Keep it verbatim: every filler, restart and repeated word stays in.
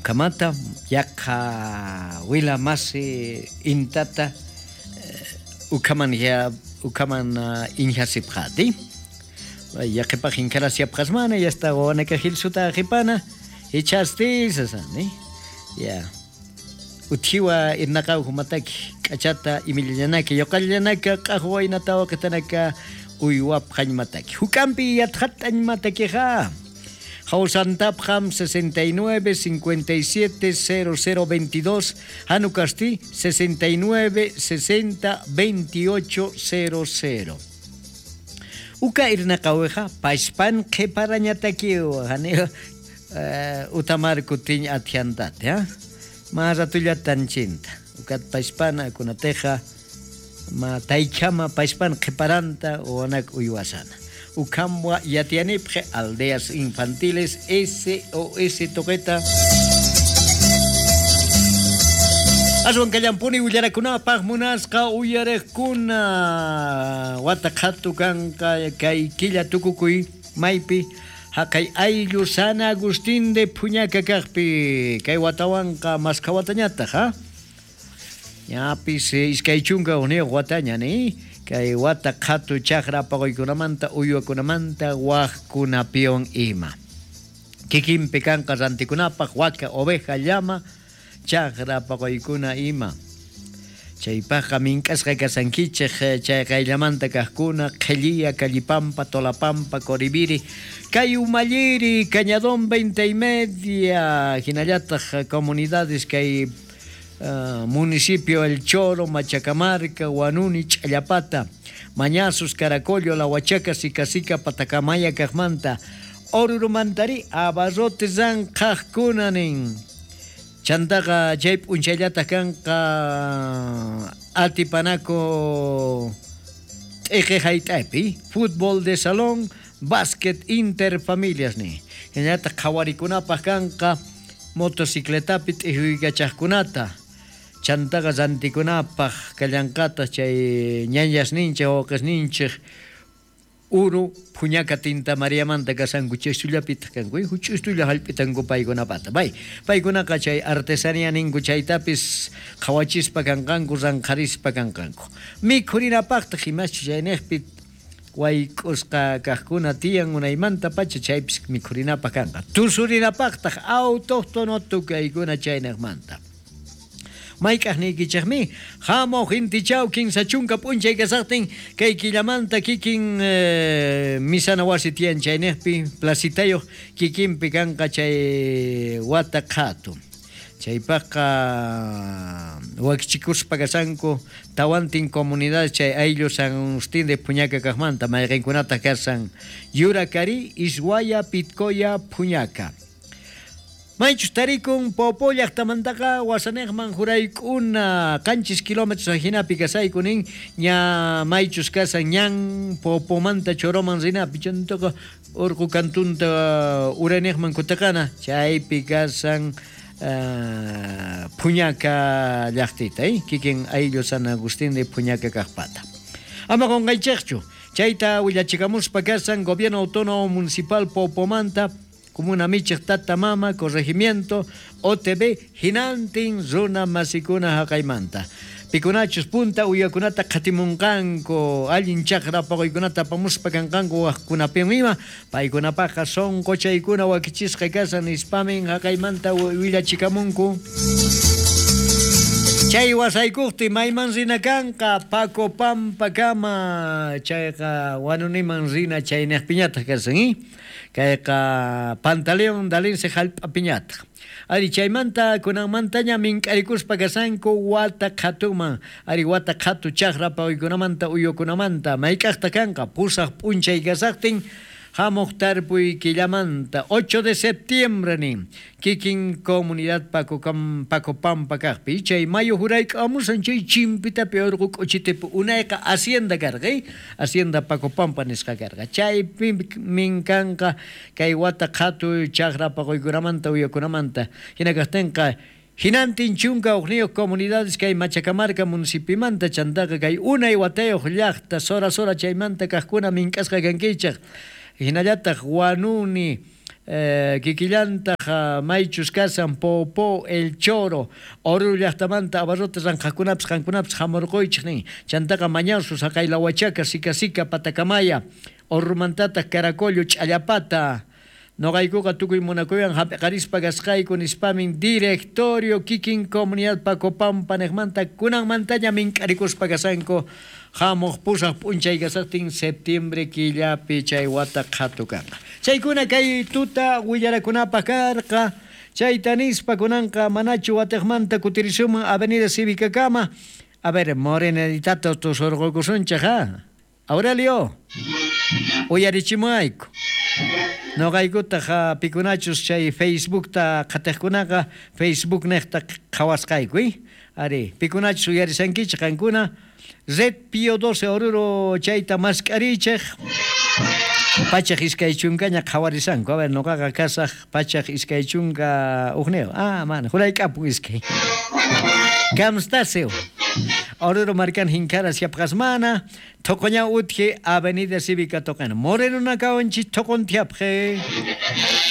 Ukamata yaqa wila masi intata ukaman ya ukaman inhasipqati yaqipaq inkarasiapqasmana yasta wanaka hilsuta qipana hichastisasani ya uthiwa irnaqaw humataki k'achata imillanaka yoqallanaka q'aqwaynata waqitanaka uywapqañmataki hukampi yatqat'añmatakiqa Jausantapjam sesenta y nueve, cincuenta y siete, cero cero veintidós, Hanukasti sesenta y nueve, sesenta, veintiocho, cero cero. Uka irnaqaweja pashpan qhiparañatakiwa hani utamar kutin athiantate ha ma ratulla tanchinta ukat pashpana kunateja ma taychama pashpan qhiparanta wanak uywasana. Ucambua Yatianipje, Aldeas Infantiles S O S Toqueta. Aswan kallampuni willarakunapaq munasqa uyariqkuna wata qhatu kanqa kay killa tukukuy maypi haqay ayllu San Agustín de Puñaca kaqpi kay watawanqa maskha watañataq ha ñapis iskay chunka hukniyuq wataña ni kay wata qhatu chaqra paquykunamanta uywakunamanta waqkunapiwan ima kikinpi kanqa rantikunapaq waka oveja llama chaqra paqaykuna ima chaypaqqa mink'asqa kasankichej chay qayllamanta kaqkuna Qhilliya, Callipampa, Tolapampa, Coribiri, kay Umalliri, Cañadón veinte y media hinallataq comunidades kay Uh, municipio El Choro, Machacamarca, Huanuni, Challapata, Mañazos, Caracollo, La Huachaca, Sicasica, Patacamaya, Cajmanta, Orurumantari, Abarrote, Zanjajkunanin. Chantaqa chay p'unchayllata kanqa Atipanaco t'eqe hayt'aypi, fútbol de salón, básquet interfamilias ni. Hinallataq qhawarikunapaq kanqa motocicletapi t'ihuykachaqkunata chantaqa rantikunapaq kallanqata chay ñañasninchej wawqisninchej uru Puñaca Tinta Mariamanta kasanku chay sullapitaq kanku huch'ustulla hallp'itanku paykunapata pay paykunaqa chay artesanía ninku chaytapis qhawachispa kanqanku ranqharispa kanqanku mikhurinapaqtaq imaschus chayniqpi wayk'usqa kaqkuna tiyan unaymanta pacha chaypis mikhurinapaq kanqa tusurinapaqtaq autóctono tukaykuna chayniqmanta mayk'aqniykichikmi hamuq intichaw kinsa chunka p'unchay kasaqtin kay killamanta kikin eh, misana wasi tiyan chayniqpi placitayuq kikinpi kanqa chay wata qhatu chaypaqqa wakichikuspa kasanku tawantin comunidades chay ayllu San Agustín de Puñaca kaqmanta mayqinkunataq kasan Yuracari, Ishuaya, Pitcoya, Puñaca. Maychus tarikun Popo llaqtamantaqa wasaniqman jurayk'una qanchis kilómetros ajinapi kasaykunin ña maychus kasan ñan Popomanta Choroman rinapi chantaqa urqu kantunta uraniqman kutaqana chaypi kasan Uh, Puñaca llaqtita, eh? Kikin ayllu San Agustín de Puñaca kaqpata. Ama qunqaychikchu, chayta willachikamuspa kasan Gobierno Autónomo Municipal Popomanta, Comuna Michej Tata Mama, Corregimiento, O T B, hinantin runa masikuna haqaymanta. Pikunachus punta uyakunata qhatimunqanku, allin chaqra paquykunata apamuspa kanqanku waqkunapin ima, paykunapaqqa sonqochaykuna wakichisqa kasan nispamin haqaymanta willachikamunku. Chay wasaykuqti mayman rina kanqa Paco Pampakama, chayqa Wanuniman rina chayniqpiñataq kasan, eh? Kayqa Pantaleón Dalinse hallp'apiñataq. Ari chaymanta kunanmantaña mink'arikuspa kasanku wata qhatuman, ari wata qhatu chaqra paquykunamanta uyukunamanta mayk'aqta kanqa pusaq p'unchay kasaqtin hamuq tarpuy killamanta ocho de septiembre nin kikin comunidad Paco Paco Pampa kaqpi chay mayo jurayk'amusan chay chimpitapi urqu k'uchitipi unayqa hacienda karqa hacienda Paco Pampa nisqa karqa chaypi minkanqa kay wata qhatu chaqra paquykunamanta uyakunamanta hina kaqtinqa hinantin chunka hukniyuq comunidades kay Machacamarca municipimanta chantaqa kay unay watayuq llaqta sora sora chaymanta kaqkuna mink'asqa kankichaq hinallataq Wanuni Eh, kikillantaq maychus kasan Popo El Choro Oruro llaqtamanta abarrotes ranqhaqkunapis qankunapis hamurquychik nin chantaqa Mañazo Saqaylahuachaca Sica Sica Patacamaya Orurumantataq Caracollo Ch'allapata noqaykuqa tukuy munakuywan hap'iqarispa kasqayku nispamin directorio kikin comunidad Pacopampa niqmanta kunanmantaña mink'arikuspa kasanku hamuq pusaq p'unchay kasaqtin septiembre killapi chay wata qhatu kanqa. Chaykuna kay tuta willarakunapaq karqa chayta nispa kunanqa manachu watiqmanta kutirisuman Avenida Cívica kama. A ver, Morenaditata tusurqukusunchik ha. Aurelio, uyarichimuayku. Noqaykutaq pikunachus chay Facebookta qhatiqkunaqa Facebook niqta qhawasqayku, eh? Ari, pikunachus uyarisankichik qankuna Red Pío doce Oruro chayta mask'arichik pachaq iskay chunkaña qhawarisanku. A ver, noqaqa kasaq pachaq iskay chunka hukniyuq. Ah, mana, jurayk'apun iskay. Kamstaseo. Oruro markan hinkara siapqasmana, Toqoña utje Avenida Cívica toqana. Moreno nakawanchik toqontiapje.